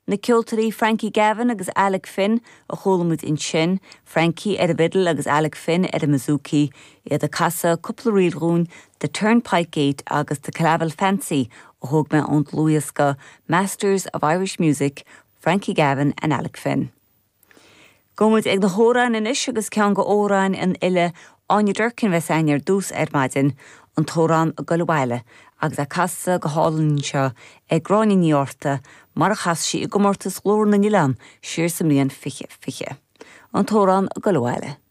Na ceoltóirí Frankie Gavin agus Alec Finn a chuala muid ansin, Frankie ar an bhfidil agus Alec Finn ar an mbouzouki, iad ag casadh cúpla ríl dhúinn, The Turnpike Gate agus The Killavil Fancy a thóg mé ón dlúthdhiosca Masters of Irish Music, Frankie Gavin and Alec Finn. Gabhfaidh muid ag na hamhráin anois agus ceann de amhráin an fhile Áine Durkin a bheas againn ar dtús ar maidin, an t-amhrán Ag Goil Abhaile agus é casta go hálainn anseo ag Gráinne Ní Fhátharta mar a chas sí i gcomórtas Ghlór na nOileán siar sa mbliain 2020. An t-amhrán Ag Goil Abhaile.